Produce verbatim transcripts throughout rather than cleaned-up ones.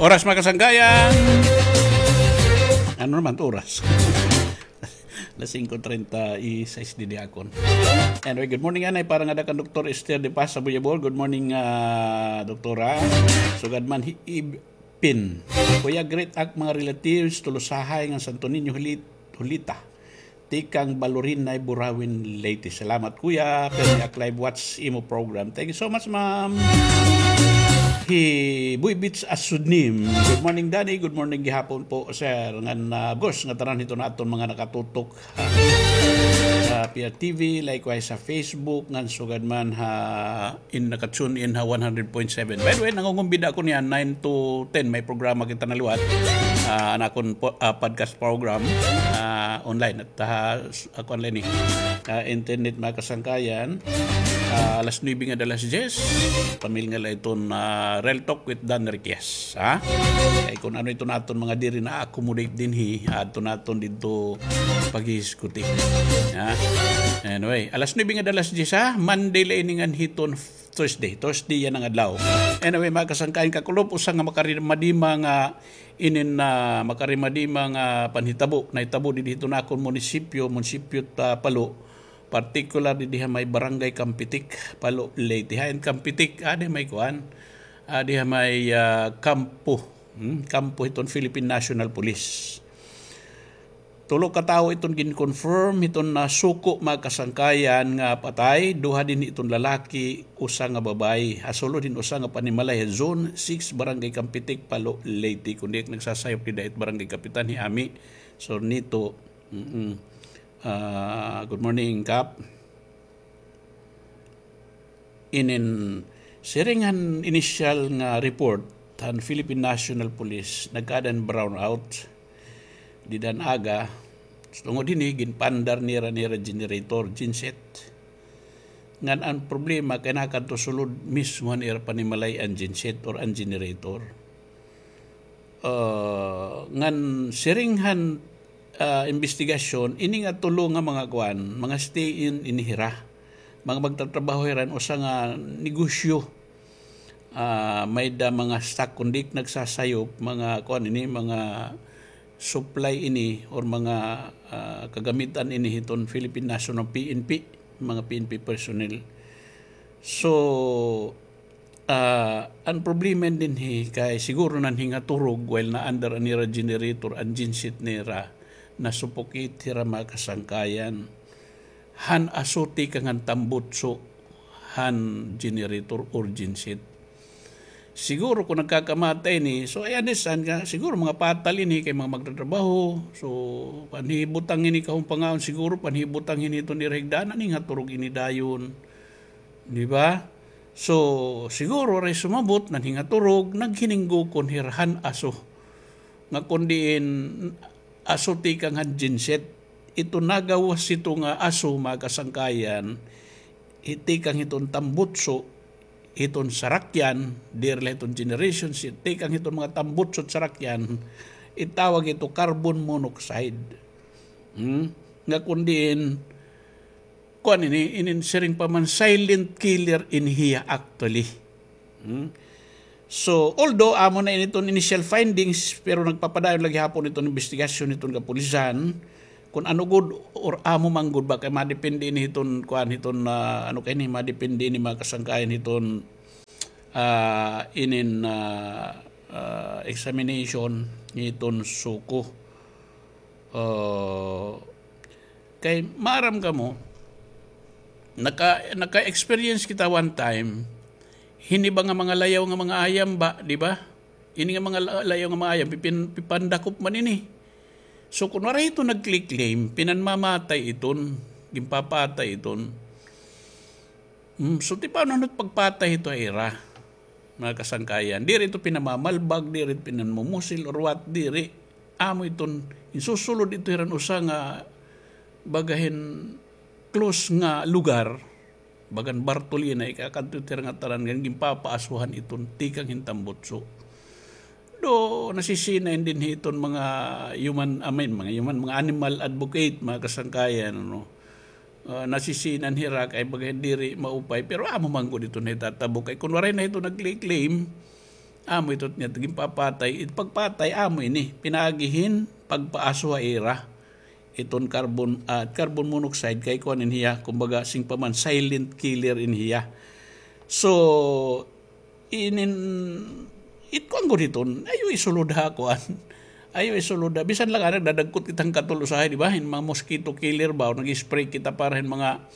Oras, mga kasangkayan. Ano naman to oras? Las singko treinta y seis didi akon. Anyway, good morning, anay. Para nga da kan Doktor Esther de Paz sa Buyabol. Good morning, ah, Doktora. Sugad man hi Ib-, Pin. Kuya, greet ak mga relatives, Tolosahay ngan Santo Niño, Hulit-, Hulita. Tikang Balorinay, Burauen, Leyte. Salamat, kuya. Pirmi ak live watch imo program. Thank you so much, ma'am. Hi Boy Beach Asunim. Good morning, Danny. Good morning gihapon po, sir. Ngan, ah, of course, ngatanan hiton aton mga nakatutok ha, ha P R T V, likewise sa Facebook, ngan sugad man ha in, naka-tune in ha one hundred point seven. By the way, nangungumbida ako niyan, nine to ten, may programa kita na liwat. Ah, an akon po, ah, podcast program, ah, online at, ah, s-, ako online, eh. Ah, internet, mga kasangkayan. Ah, alas nuebe ngada alas diyes, pamilnga la iton, ah, Real Talk with Dan Riquez, ha? Kay kun ano iton aton mga diri na-accommodate dinhi, adto naton didto paghisguti. Ha? Anyway, alas nuebe ngada alas diyes, ha? Monday la ini ngan hiton Thursday. Thursday yana nga adlaw. Anyway, mga kasangkayan, kakulop, usa nga makarimadima nga inin, ah, makarimadima nga panhitabo nahitabo didi hiton akon munisipyo, munisipyo ta Palo, particular didi ha may Barangay Campetic, Palo, Leyte. Ha, in Campetic, adi ha may kuan, adi ha may, ah, kampo, hmm, kampo hiton Philippine National Police. Tulo ka tawo iton gin-confirm hiton nasuko, mga kasangkayan, nga patay, duha dinhi iton lalaki, usa nga babaye. Ha sulod hin usa nga panimalay ha Zone six, Barangay Campetic, Palo, Leyte. Kun di ak nagsasayop, dida it barangay kapitan hi Ami Sornito. Mm-mm. Ah, good morning, Kap. Inin, siring han initial nga report han Philippine National Police, nagkaada hin brownout dida han aga. Tungod hini, ginpaandar nira, nira generator, genset. Ngan an problema kay nakadto sulod mismo han ira panimalay an genset or an generator. Ah, ngan siring han, ah, imbestigasyon, ini nga tulo nga mga kuan, mga stay-in ini hira. Mga magtatrabaho hira han usa nga negosyo. Ah, may-ada mga stock, kun di ak nagsasayop, mga kuan ini, mga supply ini, or mga, ah, kagamitan ini hiton Philippine National, P N P, mga P N P personnel. So, Ah, an problema dinhi kay siguro nanhingaturog while na-under an ira generator, an genset nira, na-suffocate hira, mga kasangkayan. Han aso tikang han tambutso han generator or genset. Siguro kun nagkakamatay ini, so I understand nga, siguro mga patal ini kay mga magtatrabaho, so panhibutang ini kahumpangaon, siguro panhibutang ini hiton ira higdaan, nanhingaturog ini dayon. Di ba? So, siguro waray sumabot, nanhingaturog, naghininggukon hira han aso. Nga kun diin aso tikang han genset, ito nagawas ito nga aso, mga kasangkayan, hi-, tikang hiton tambutso, hiton sarakyan, diri la hiton generation, si-, tikang hiton mga tambutso, sarakyan, itawag ito carbon monoxide. Hmm? Nga kun diin, kuan ini, inin siring pa man, silent killer ini hiya actually. Hmm? So, although amo na ini iton initial findings, pero nagpapadayon la gihapon iton imbestigasyon hiton kapulisan, kun ano gud or amo man gud ba, kay madepende ini hiton, kuan, hiton, ah, ano kay ini, madepende ini, mga kasangkayan, hiton, ah, inin, ah, ah, examination hiton suko. Ah, Kay maaram kamo, naka-, naka-experience kita one time, hini ba nga mga layaw nga mga ayam ba, di ba? Ini nga mga la-, layaw nga mga ayam, pipin-, pipandakop man ini. So, kun waray ito nagkli-claim, pinanmamatay iton, ginpapatay iton. Hmm, so, ti paano hit pagpatay hito ha ira, mga kasangkayan? Diri ito pinamamalbag, diri ito pinanmumusil or what, diri. Amo iton, insusulod ito hira han usa nga baga hin close nga lugar, bagan Bartolina, ikakadto ito hira nga tanan, ngan ginpapaasuhan iton tikang hin tambutso. Do, nasisina in dinhi iton mga human, I mean, mga human, mga animal advocate, mga kasangkayan, ano. Ah, nasisinan hira kay baga diri maupay, pero amo man gud ito nahitatabo kay kun waray na ito nagclaim, Amo ito niya, ginpapatay. It pagpatay, amo ini. Pinaagi hin pagpaaso ha ira. Iton carbon, ah, carbon monoxide kay kuan ini hiya, kumbaga, sing pa man, silent killer ini hiya. So, inin, it kuan gud iton, ayaw isulod ha kuan. Ayaw isulod ha. Bisan la ngani nagdadagkot kita hin katol usahay, di ba? Hin mga mosquito killer ba, o nag-spray kita para hin mga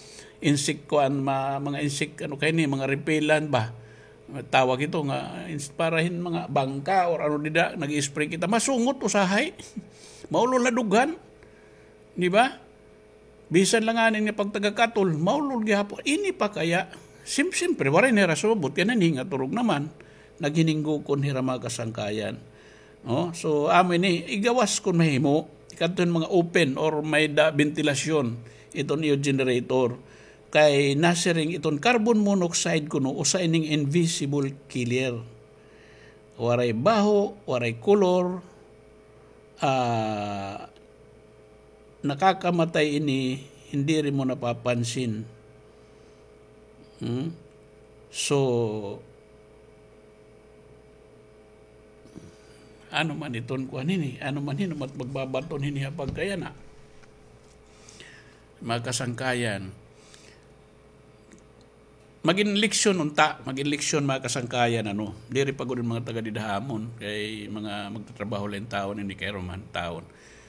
insect kuan, ma-, mga insect, ano kay ni, mga repellent ba? Tawag ito nga, ins-, para hin mga bangka or ano dida, nag-spray kita. Masungot usahay. Maulol ha dughan. Di ba? Bisan la ngani nga pagtagakatol, maulol gihapon. Ini pa kaya, sim-, simpre, waray na hira sumabot, kay nanhingaturog naman. Naghininggukon hira, mga kasangkayan. No? So, amo ini, igawas kon mahimo, ikadto hin mga open or may-ada bentilasyon, iton iyo generator. Kay nasiring iton carbon monoxide kuno, usa ining invisible killer. Waray baho, waray kolor, ah, nakakamatay ini, hin diri mo napapansin. Hmm? So, ano man iton kuan ini, ano man hin-o man it magbabaton hini ha pagkayana. Mga kasangkayan. Magin leksyon unta, magin leksyon, mga kasangkayan, ano. Diri pa gud an mga taga dida ha amon, kay mga magtatrabaho la hin tawon, ini kay ruman tawon.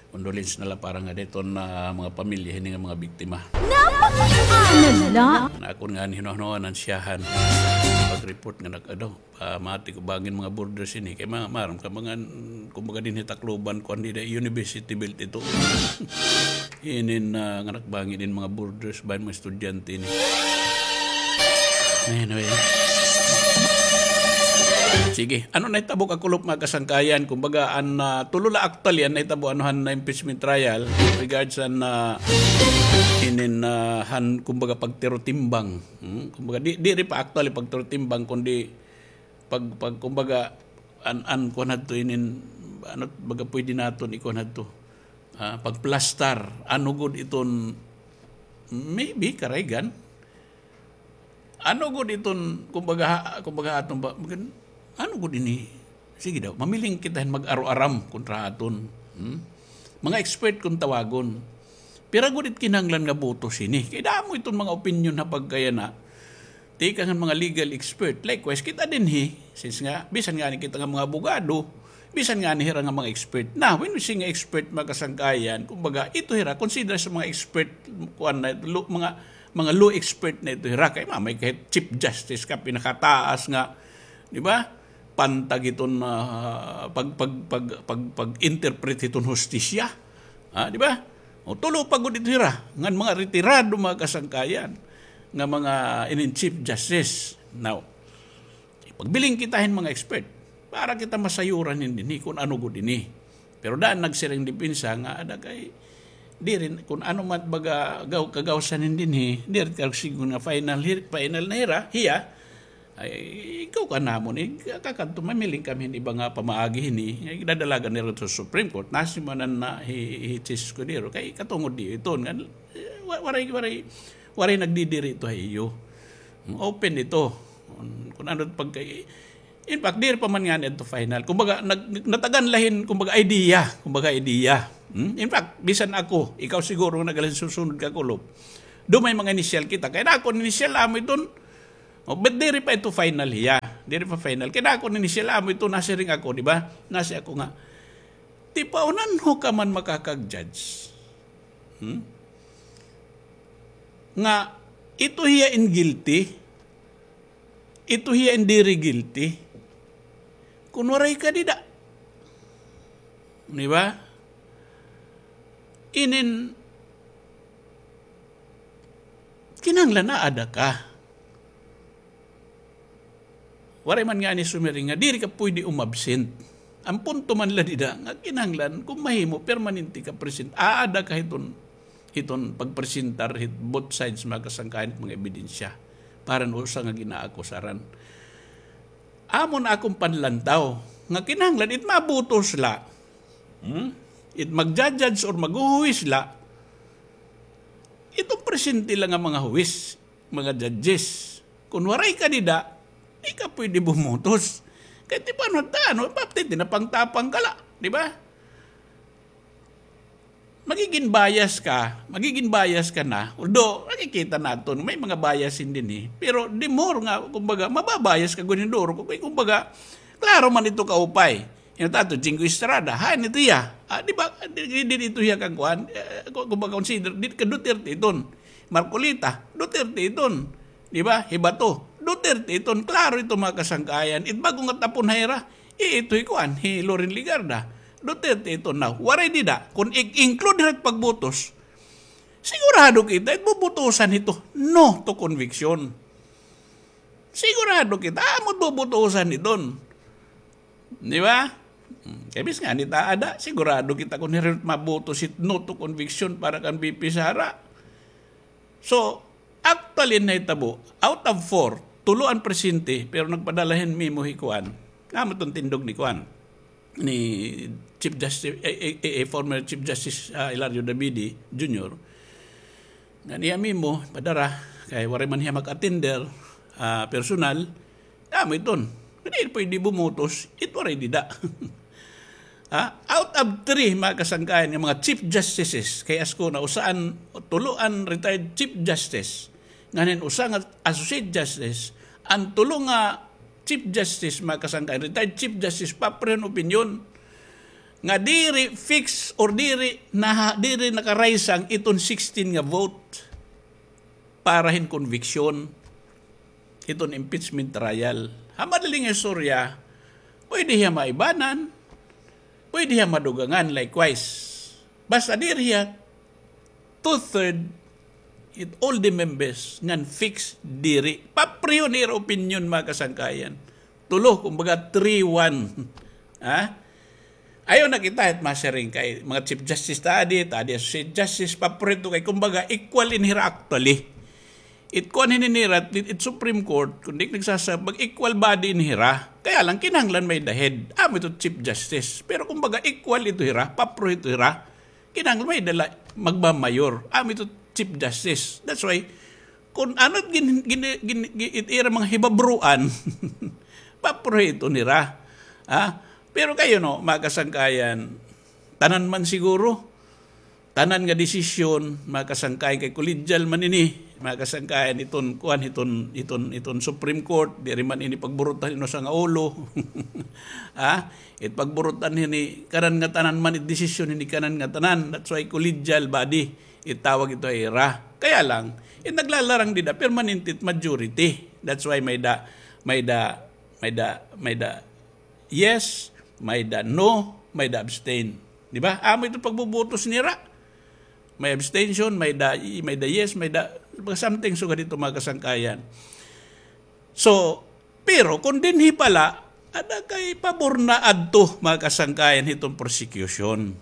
Condolence na la para ngada hiton, ah, mga pamilya hini nga mga biktima. Napakaano la. Nakon ngani hinuhanuan an siyahan. Pag-report nga nag-, ano, pamati ko bangin mga borders ini. Kay ma-, maaram ka, mga, kumbaga dinhi Tacloban, kuan dida, university belt ito. Inin, ah, nga nakbangin in mga borders ba, mga estudyante ini. Anyway. Sige. Ano nahitabo kakulop, mga kasangkayan? Kumbaga, an, ah, tulo la actually, an nahitabo, ano, han impeachment trial, regards an, ah, inin, ah, han, kumbaga, pagtirotimbang. Hmm? Kumbaga, di, diri pa actually pagtirotimbang, kundi pag, pag, kumbaga, an, an, kuan hadto inin, ano, baga pwede naton ikuan hadto. Ah, pagplastar, ano gud iton, maybe, karaygan. Ano gud iton, kumbaga, ha-, kumbaga aton ba, magan-, ano gud ini? Sige daw, mamiling kita hin mag-aro-aram kontra aton. Hmm? Mga expert kon tawagon. Pira gud it kinahanglan nga boto sini? Kay damo iton mga opinyon ha pagkayana. Tikang han mga legal expert. Likewise, kita dinhi, since nga, bisan ngani kita nga mga abogado, bisan ngani hira nga mga expert. Na, when we say nga expert, mga kasangkayan, kumbaga, ito hira, consider sa mga expert, kuan na, lo-, mga, mga law expert na ito hira. Kay mamay kahit Chief Justice ka, pinakataas nga, di ba? Pantag iton, ah, pag, pag, pag, pag, pag-interpret hiton hustisya. Ha, di ba? O, tulo pa gud ito hira, ngan mga retirado, mga kasangkayan, nga mga inin Chief Justice. Now, pagbiling kita hin mga expert, para kita masayuran hin dinhi kon ano gud ini. Pero daan nagsiring depensa nga ada kay, diri, kon ano man baga gaw-, kagawsan hin dinhi, diri ka sigon nga final hi-, final na hira, hiya, ay, ikaw ka namon, eh, kakadto, mamiling kami hin iba nga pamaagi hini, ay, dadalagan nira to sa Supreme Court, nasimanan na hi, hi, hi Justice Escudero, kay katungod di iton, nga, eh, wa-, waray, waray, waray nagdidiri ito ha iyo. Open ito. Kon, kon ano pagka-, in fact, diri pa man ngani ito final. Kumbaga, nag-, natagan la hin, kumbaga, idea, kumbaga, idea. Hmm? In fact, bisan ako, ikaw siguro nga naghalin susunod kakulop. Do may mga initial kita. Kay na ako, initial amo iton, O, but diri pa ito final hiya. Diri pa final. Kay na ako initial amo ito, nasiring ako, di ba? Nasi ako nga, tipaonan ho ka man makakag-judge. Hmm? Nga, ito hiya in guilty, ito hiya in diri guilty. Kun waray ka dida. Di ba? Inin, kinahanglan aada ka. Waray man ngani sumiring nga diri ka pwede umabsent. An punto man la dida nga kinahanglan kon mahimo permanente ka present. Aada ka hiton, hiton pagpresentar hit both sides, mga kasangkayan, hit mga ebidensya para han usa nga ginaakusaran. Amo na akon panlantaw nga kinahanglan it mabutos la. Hmm? It magja-judge or maghuhuwis la. Iton presente la nga mga huwis, mga judges. Kun waray ka dida, di ka pwede bumutos. Kay ti paano, ano, pati tinapang-tapang ka la, di ba? Magigin bias ka, magigin bias ka na. Although, nakikita naton, may mga bias din eh. Pero the more nga, kumbaga, mababias ka, guninduro ko, kay kumbaga, klaro man ito kaupay. Yung tato, Jinggoy Estrada, hain ito iya. Ah, di ba, di, di, di ito iya kang kuan, eh, ku-, kumbaga, consider, di ka Duterte iton. Marcoleta, Duterte iton. Di ba? Hibato, Duterte iton. Klaro ito, mga kasangkayan. It bago nga tapon ha ira, i-, ito hi kuan, hi Loren Legarda. Duterte iton na. Waray dida. Kung i-, include hira it pagbutos, sigurado kita, it bubutusan ito, no to conviction. Sigurado kita, amo it bubutusan iton. Di ba? Hmm, kay bis nga nita ada, sigurado kita kung hira it mabutos it no to conviction para kan V P Sara. So, actually, nahitabo, out of four, tulo an presente, pero nagpadala hin memo hi kuan. Amo iton tindog ni kuan, ni Chief Justice, eh, eh, eh, former Chief Justice, ah, Hilario Davide Junior. Nga niya memo, padara, kay waray man hiya mag-attender, ah, personal, amo iton. Diri pwede bumutos, it waray dida. Ha? Out of three, mga kasangkayan, nga mga Chief Justices, kay asko na usa an, tulo an retired Chief Justice, ngan hin usa nga Associate Justice, an tulo nga Chief Justice, mga kasangkayan, retired Chief Justice, papareho hin opinyon nga diri fix or diri na, diri nakaraysang iton sixteen nga vote para hin conviction hiton impeachment trial. Ha madaling istorya, pwede hiya maibanan, pwede hiya madugangan, likewise. Basta diri hiya two-third it all the members ngan fix diri. Papareho nira opinyon, mga kasangkayan. Tulo, kumbaga, three one. Ha? Ayaw na kita it masiring kay mga Chief Justice ta adi, ta adi Associate Justice, papareho kay kumbaga equal ini hira actually. It kuan hini nira, it, it Supreme Court, kun di nagsasab, mag-equal body ini hira. Kaya lang, kinahanglan may-ada head. Amo ito Chief Justice. Pero kumbaga, equal ito hira, papareho ito hira. Kinahanglan may-ada la magmamayor. Amo ito Chief Justice. That's why, kun ano it gin-, gin-, gin-, gin-, it ira mga hibabruan, papareho ito nira. Ha? Pero kayo, no, mga kasangkayan, tanan man siguro, tanan nga desisyon, mga kasangkayan, kay collegial man ini, mga kasangkayan, iton, kuan, iton, iton, iton Supreme Court, diri man ini pagburutan hin usa nga ulo. Ha? It pagburutan hini, kanan nga tanan man, it desisyon hini, kanan nga tanan. That's why collegial body, itawag ito ha ira. Kaya lang, it naglalarang dida, permanente it majority. That's why may-ada, may-ada, may-ada, may-ada yes, may-ada no, may-ada abstain. Di ba? Amo ito pagbubutos nira. May abstention, may-ada, may-ada yes, may-ada, something sugad ito, mga kasangkayan. So, pero kun dinhi pa la, ada kay pabor na adto, mga kasangkayan, hiton prosecution.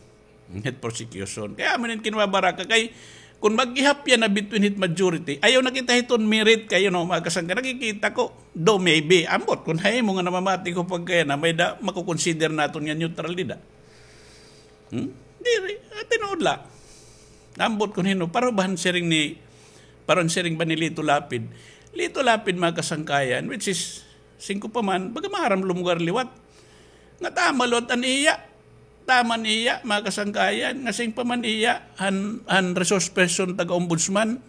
Hit prosecution. Kaya amo ini it kinbabaraka kay kun mag-ihapyan na between hit majority, ayaw na kita hiton merit kay, you know, mga kasangkayan, nakikita ko, do maybe, ambot kun ha imo nga namamati ko pagkaya na may-ada, makukonsider naton nga neutral dida. Hmm? Diri, ah, tinuod la. Ambot kun hin-o, pareho ba han siring ni, pareho han siring ba ni Lito Lapid? Lito Lapid, mga kasangkayan, which is, siring ko pa man, baga maaram lumugar liwat. Nga tama liwat an iya. Tama an iya, mga kasangkayan, nga siring pa man iya, han, han resource person, taga-ombudsman.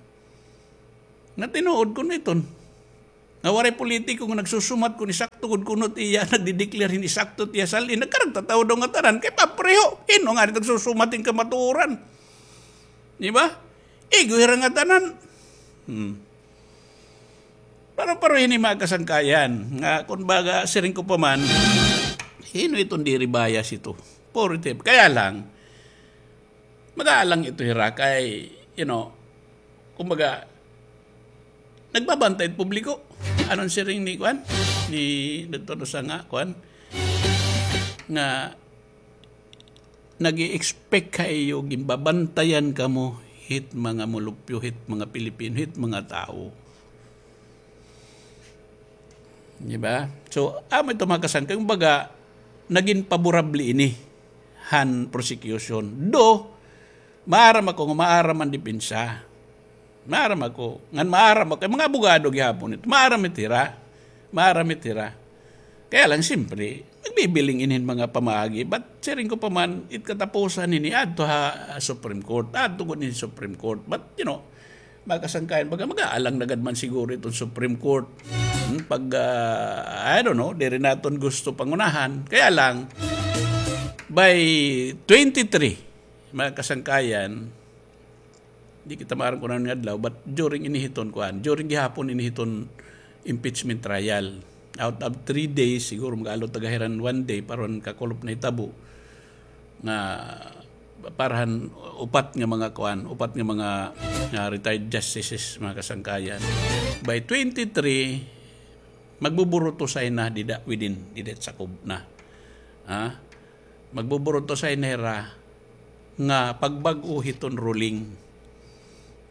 Nga tinuod kun iton. Nga waray politiko nga nagsusumat kun isakto gud kuno it iya, nagdi-declare hin isakto it iya sal-in. Nagkaragtatawo daw ngatanan kay papareho. Hin-o ngani nagsusumat hin kamatuoran? Di ba? Igo hira ngatanan. Hmm. Pareho-pareho hini, mga kasangkayan, nga kun baga siring ko pa man, hin-o iton diri bias ito? Positive. Kaya lang, mag-aalang ito hira kay, you know, kumbaga, nagbabantay it publiko. Ano an siring ni, kuan? Ni, didto, ano, sa nga, kuan? Nga, nag-i-expect kaayo, ginbabantayan kamo hit mga mulupyo, hit mga Pilipino, hit mga tawo. Di ba? So, amo ito, mga kasangkayan, kumbaga, nagin paborable ini han prosecution. Though, maaram ako nga maaram an depensa. Maaram ako. Ngan maaram ako. Kay mga abogado gihapon ito. Maaram it hira. Maaram it hira. Kaya lang, siyempre, nagbibiling inin mga pamaagi. But siring ko pa man, it katapusan ini adto ha, ha Supreme Court. Adto gud ini Supreme Court. But, you know, mga kasangkayan, baga mag-aalang na gad man siguro iton Supreme Court. Hmm, pag, ah, I don't know, diri naton gusto pangunahan. Kaya lang, by twenty-three, mga kasangkayan, di kita maaram kon ano nga adlaw, but during ini hiton, kuan, during gihapon ini hiton impeachment trial. Out of three days, siguro mag-aalot ta gahiran one day, para han kakulop nahitabo nga para han upat nga mga, kuan, upat nga mga, ah, retired justices, mga kasangkayan. By twenty-three, magbuburutusay na dida within, dida sakob na. Ha? Magbuburutusay na hira nga pagbag-o hiton ruling.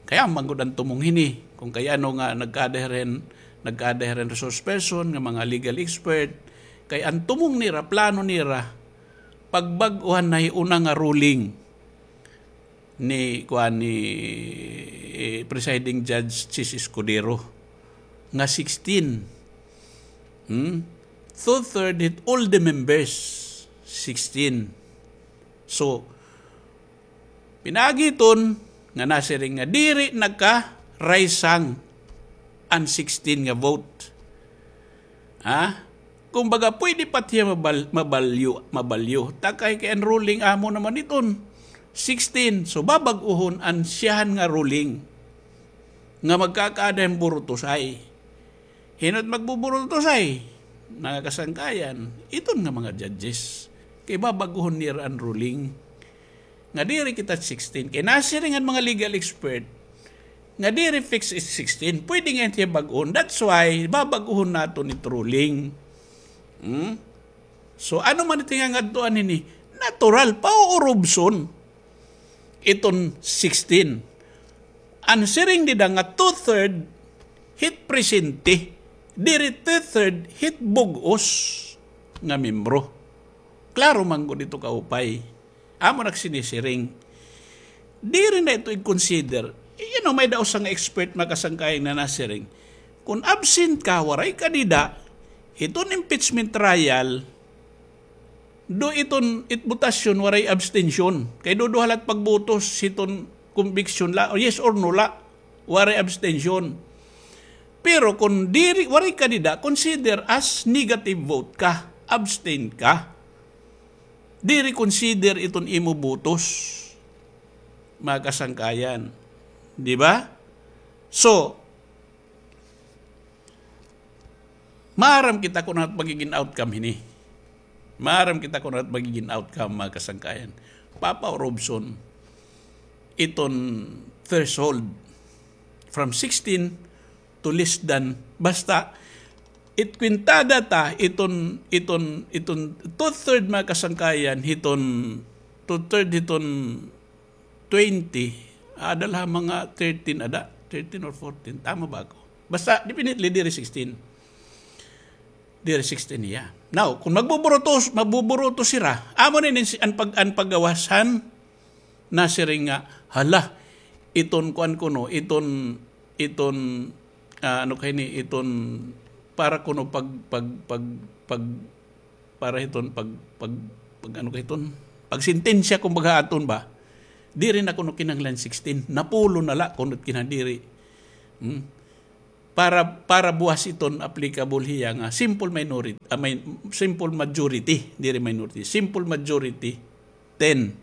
Kay amo man gud an tumong hini, kon kay ano nga nagkada hira hin, nagkada hira hin resource person nga mga legal expert, kay an tumong nira, plano nira, pagbag-o han nahiuna nga ruling ni, kuan, ni, eh, Presiding Judge Chiz Escudero nga sixteen. Hmm? Two-third hit all the members, sixteen. So, pinaagi hiton nga nasiring nga diri nakaraysang an sixteen nga vote. Ha? Kumbaga, pwede pa hiya mabal-, mabalyo, mabalyo. Ta kay, kay an ruling amo naman iton sixteen. So, babag-ohon an siyahan nga ruling nga magkakaada hin burutusay. Hin-o it magbuburutusay? Mga kasangkayan, iton nga mga judges. Kay babag-ohon nira an ruling nga diri kita sixteen. Kay nasiring an mga legal expert nga diri fix is sixteen. Pwede ngay-an hiya bag-ohon. That's why, babag-ohon naton it ruling. Hmm? So, ano man it ngangadtuan hini? Natural, pauurobson iton sixteen. An siring dida nga two-third hit presente, diri two-third hit bug-os nga membro. Klaro man gud ito kaupay. Amo na ak sinisiring. Diri na ito i-consider. You know, may-ada usa nga expert, mga kasangkayan, nga nasiring, kon absent ka, waray ka dida hiton impeachment trial, do iton it botasyon, waray abstention. Kay duduha la it pagbotos hiton conviction la, o yes or no la, waray abstention. Pero kon diri, waray ka dida, consider as negative vote ka, abstain ka. Diri consider iton imo botos, mga kasangkayan. Di ba? So, maaram kita kon ano it magigin outcome hini. Maaram kita kon ano it magigin outcome, mga kasangkayan. Papaurobson iton threshold from sixteen to less than, basta it kwintada ta, iton, iton, iton two-third, mga kasangkayan, hiton, two-third hiton twenty, ada la ha mga thirteen ada, thirteen or fourteen, tama ba ako? Basta, definitely, diri sixteen. Diri sixteen hiya. Now, kon magbuburutos, magbuburutos hira, amo na ini an pag-, an paggawas han nasiring nga, hala, iton kuan kuno, iton, iton, ah, ano kay ni, iton, para kuno pag, pag, pag, pag, para hiton pag, pag, pag, ano kay iton, pagsentensya, kumbaga, aton ba, diri na kuno kinahanglan sixteen, napulo na la kuno kinadiri. Hmm? Para, para buwas iton applicable hiya nga simple minority, ah, may, simple majority, diri minority, simple majority, ten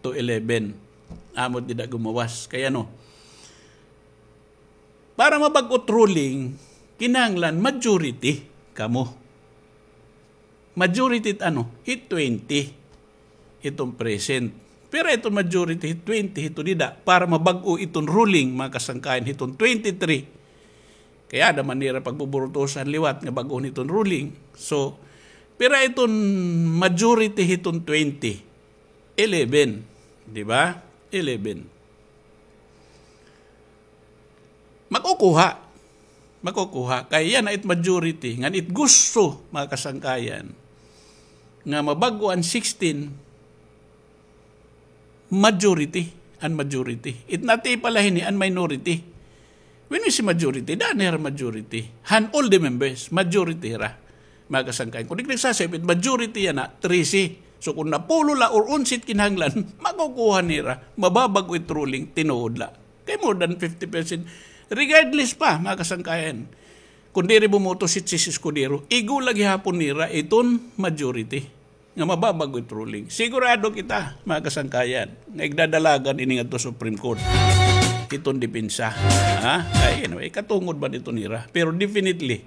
to eleven. Amo dida gumawas. Kay ano, para mabag-o it ruling, kinahanglan majority kamo. Majority it ano, hit twenty. Iton present. Pero iton majority hit twenty, hito dida, para mabag-o iton ruling, mga kasangkayan, hiton twenty-three. Kay ada man nira pagbuburutusan liwat nga bag-ohon iton ruling. So, pira iton majority hiton twenty? Eleven. Di ba? Eleven. Makukuha. Makukuha. Kay yana it majority. Ngan it gusto, mga kasangkayan, nga mabag-o an sixteen, majority. An majority. It nati pala hini, an minority. When we say majority, daan hira majority. Han all the members, majority hira. mga kasangkayan. Kung di nagsasabi, majority yana, trese. So, kung napulo la or onse it kinahanglan, makukuha nira, mababag-o it ruling, tinuod la. Kay more than fifty percent. Regardless pa, mga kasangkayan, kung diri bumoto si Chiz Escudero, igo la gihapon nira iton majority nga mababag-o it ruling. Sigurado kita, mga kasangkayan, nga igdadalagan ini ngadto Supreme Court. Iton depensa. Ha? Kay, anyway, katungod ba nito nira? Pero definitely,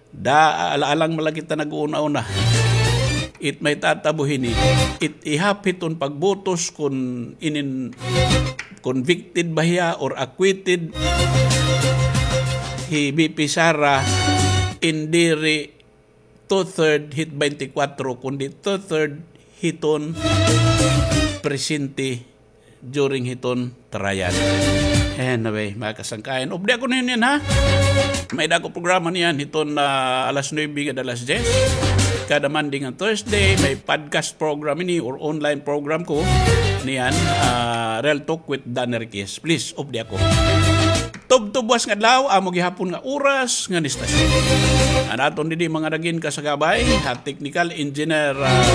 da, ala-alang man la kita nag-uuna-una. It may tatabo hini, it ihap hiton pagbotos kun inin convicted ba hiya or acquitted hi V P Sara, in diri two-third hit twenty-four, kundi two-third hiton presente during hiton trial. Anyway, mga kasangkayan, updi ako niyan, ha? May dako programa niyan hiton, ah, alas nuebe ngada alas diyes. Kada Monday ngan Thursday, may podcast program ini or online program ko niyan, ah, Real Talk with Danny Riquez. Please, updi ako. Tubtob buwas nga adlaw, amo gihapon nga oras ngan istasyon. An aton didi mga nagin kasagabay, ha technical engineer, ah,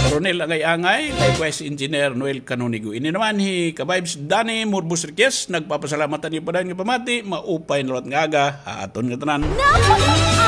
Ronel Angay-Angay, likewise engineer Noel Canonigo. Ini naman hi Ka-Vibes Danny Murbos Riquez, nagpapasalamat han iyo padayon nga pamati, maupay na liwat nga aga, ha aton ngatanan. Napaka-,